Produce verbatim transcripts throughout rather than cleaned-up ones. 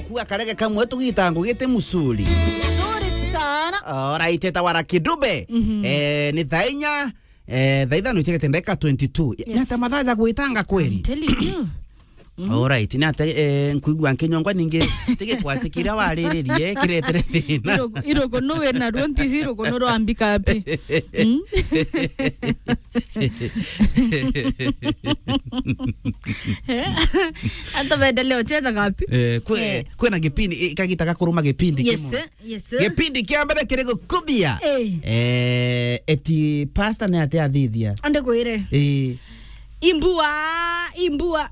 Kua karege kamwe tugita ngugite musuri. Nzuri sana. Alright, eta wara kidube. Mhm. Eh, ni thaa inya, eh, thaa ithano ichegete ndagika twenty-two. Yes. Ni ata mathaa ja gwitanga kweri? I'm telling you. Mhm. Alright, ni ata, eh, nkuigua nkinyongwa ningi tigi kwasi kiria wariririe kiretere thina. Irugu, irugu no we na ruo ntisi irugu no rwambika api. Mm? Hata maendeleo chena ngapi? Eh, kwe-, eh, kwena gipindi, eh, kagita gakuruma gipindi. Yes, kimwe. Eh, yes, eh. Gipindi kia mbere kiri gukubia. Eh. Eh, eti pastor ni ate athithia. Ande kwire. Eh. Imbua, imbua.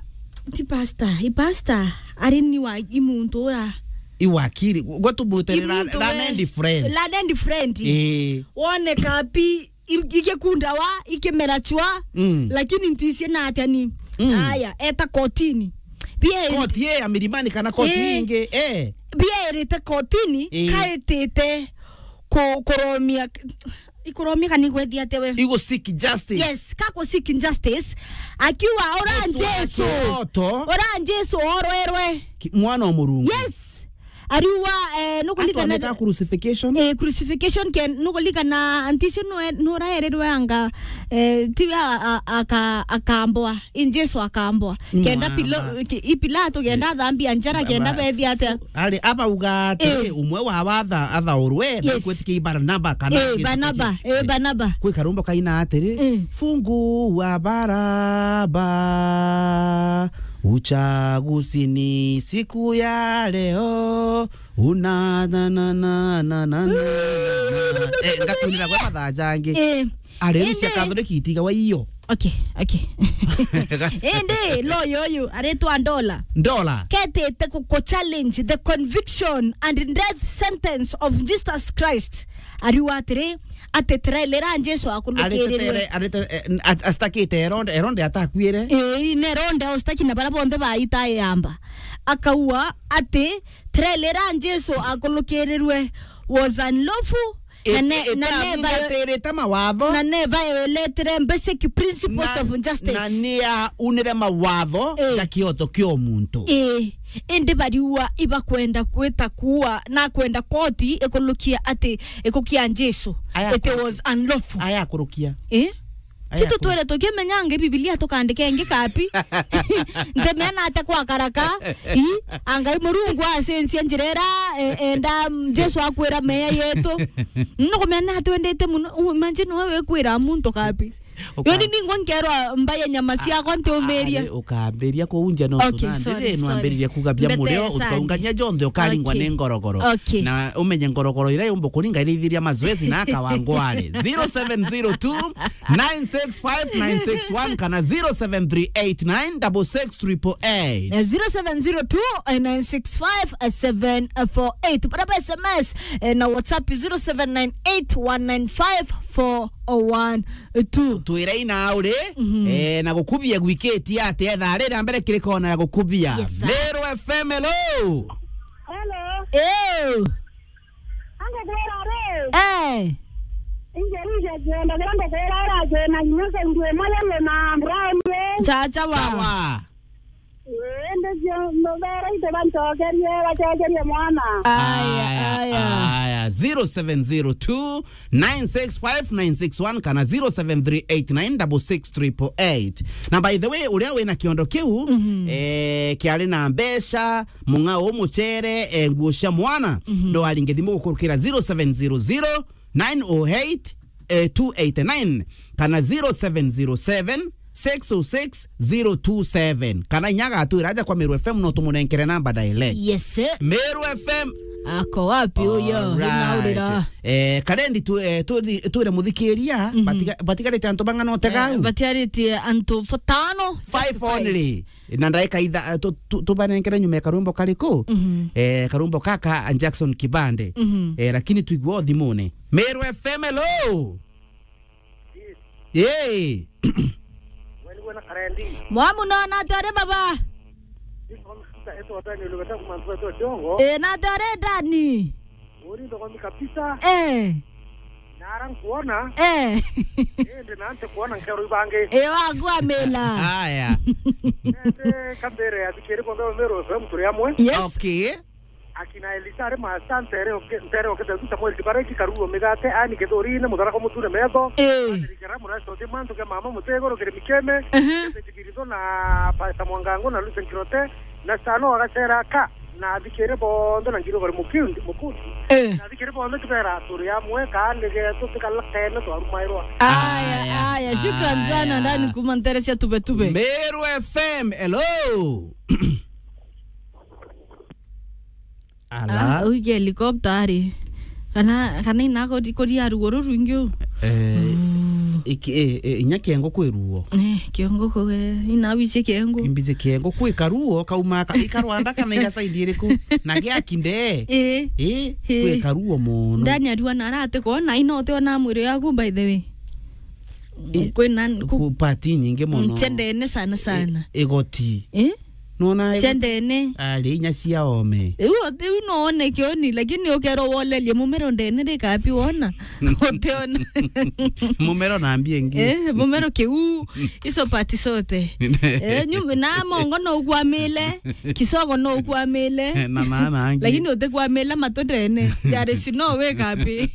Ti pastor, i pastor. Ari ni wa, i muntu ura. I wakiri. Gwa tumutere la, imuntu la we, nendi friend. La nendi friend. Eh. Wone kapi i-, igikundawa, ikimera chwa, mm, lakini nticie na atia ni. Mm. Aya, eta kotini. Bia koti ye ya Milimani kana koti, eh, ingi, eh. Bia irite kotini, eh, kaitite ku-, kuromia, ikuromia kana igwethia atia we? Igu seek justice. Yes, ka ku seek justice. Akiuga, "Ora Jesu Jesu, wa kiroto, ora Jesu orwerwe." Ki-, mwana wa Murungu. Yes. Ariuga, eh, nukulikana atwamita crucification? Eh, crucification ke, nukulikana nticio nwe-, nuraerirwe anga, eh, tiwe a-, a-, aka-, akambwa, in Jesu akambwa. Kenda Pilo-, ki-, i Pilato kenda athambia njara, kenda bethia atia? Ari, abauga atiri, eh, umwe wa watha athaurwe, yes, na kwetikia Barnaba kana, eh, Barnaba, eh, Barnaba. Kwi karumbo kaina atiri, eh, "Fungua Baraba." Uchaguzi ni siku ya leo. Una, na, na. Eh, ngakwinira gwe mathaa jangi. Eh. Ari, indi Rusia Catholic itiga wa iyo. Okay, okay. Indi, loyo uyu, aritwa Ndola. Ndola. Ketite ku, ku challenge the conviction and death sentence of Jesus Christ. Ariuga atiri, ati trailer ya Jesu akulukirirwe. Aritetere, arite-, eh, at-, astakite Herode, Herode atakuire. Ii, ni Herode austaki na bara bonthe baita yamba. Akaua ati trailer ya Jesu akulukirirwe was unlawful, na ne-, na ne-, itathingatiirite mawatho, na ne violated basic principles of justice. Na ni aunire mawatho, eh, ja kioto kia muntu. Ii, indi bariua ibakwenda kwita kuua, na kwenda koti ikulukia ati ikukia Jesu. Aya it was unlawful. Aya akurukia. Eh? Aya titutwire tukimenyanga Bibilia tukandika ingi kapi. Ntemena ate kwa karaka. I, angai Murungu acensia njira ira, e-, enda, mm, Jesu akwira meya yetu. Nukumenya atwendete muno. U-, imagine wewe kwira muntu kapi. Uka- Yoni ningwa nkerwa mbaye nyama ciakwa ntiumiria. Ari, ukambiria kuunja no. Okay, sorry, sorry. Nwambiririe kuga bia murio, ukaungania jonthe ukaringwa ni ngorogoro. Okay. Na umenye ngorogoro ira yumba kuringa irithiria mazoezi na akawangware. Zero seven zero two, nine six five, nine six one kana zero seven three eight nine double six triple eight. Eh, zero seven zero two, nine six five, seven four eight. Bara ba S M S, eh, na WhatsApp zero seven nine eight one nine five four one. Tu. Twira ina uri, mhm, eh, na gukubia gwikiti atia thaa riri mbere kiri kona ya gukubia. Yes, sir. Meru F M, hello. Hello. Eh. Ange kwira ri. Eh. Inge rije kwenda kwenda kwira ira kwina nyoka ndio maya na brown ye. Chacha wa. Sawa. Indi cio mubera itu bancokerie, bacokerie mwana. Aya, aya, aya. Aya, zero seven zero two, nine six five, nine six one kana zero seven three eight nine double six triple eight. Na by the way, uria wina kiondo kiu, mhm, eh, kiari na mbeca, mung'ao, mucere, eh, nguo cia mwana, mhm, no aringe thimu gukurukira zero seven zero zero, nine oh eight, eh, two eight nine kana zero seven zero seven, six oh six, zero two seven. Kana inya agatwira aja kwa Meru F M no tumunenkere namba direct. Yes, sir. Meru F M. Ako wapi uyo? Alright. Inaurira. Eh, karendi tu, eh, tu, twire muthikiria, mhm, batiga-, batigarite antu bang'ana utega au? Eh, batigarite antu batano. Five only. Na ndaika itha-, tu-, tu-, tubanenkere nyuma ya karwimbo kariku? Mhm. Eh, karwimbo kaka a Jackson Kibande. Mhm. Eh, lakini tuigua o thimune. Meru F M, hello. Yee. Mwamu no na tore baba. Eh, na tore ndani. Eh. Nara nkuona. Eh. Indi na nti kuona nkero ibangi. Eh, wagua mela. Aya. Indi kambere ya thikiri kwa mbere mero F M turi amwe. Yes. Okay. Akina Elisa ari maasante, ntere oke, ntere oke, Samuel Kibareki, Karuo Migate, Ani Kithurine, Mutharako Mutune Metho, Eh. Patrick Karamu, Rashford Mantu, Kia Mama Mutego, Rukiri Mikeme, Ehe. Jesse Kibirizo na Pastor Mwangango na Lucen Kirote, na Stano Agacera ka, na athikire bonthe na Ngirogore Mukundi, Mukundi. Eh. Na athikire bonthe tubera turi amwe, kaani getu tikalakene twarumairwa. Aya, Aya, aya, shukran sana, aya. Ndani kuma ntere cia Tube Tube. Meru F M, hello. Ala. Ah, uige helicopter ari. Kana, kana ina kori, kori ya ruo rurwingi u. Eh, iki, eh, eh, inya kiongo kwi ruo. Eh, kiongo ku, eh, ina wiche kiongo. Imbize kiongo kwi karuo, kauma ka, ikarwanda kana iga side iriku. Na gia kinde. Eh. Eh, Eh. Kwi karuo mono. Ndani arua na arate kona, ina ote ona mwiri yaku, by the way. Eh, Kwina ku, ku party nyingi mono. Cia ndene sana sana. Eh, igoti. Eh? Nona Cia ndene. Ari inya cia ome. Riu ati, riu no one kioni, lakini ukerwo wolerie mumero ndene rikapi wona? Utiona. Mumero na mbia ingi. Eh, mumero kiu, iso pati sote. Eh, nyum-, na mongo no ukwamile, kisogo no ukwamile. Na maana angi. Lakini utikwamila matu ndene. There is no way kapi.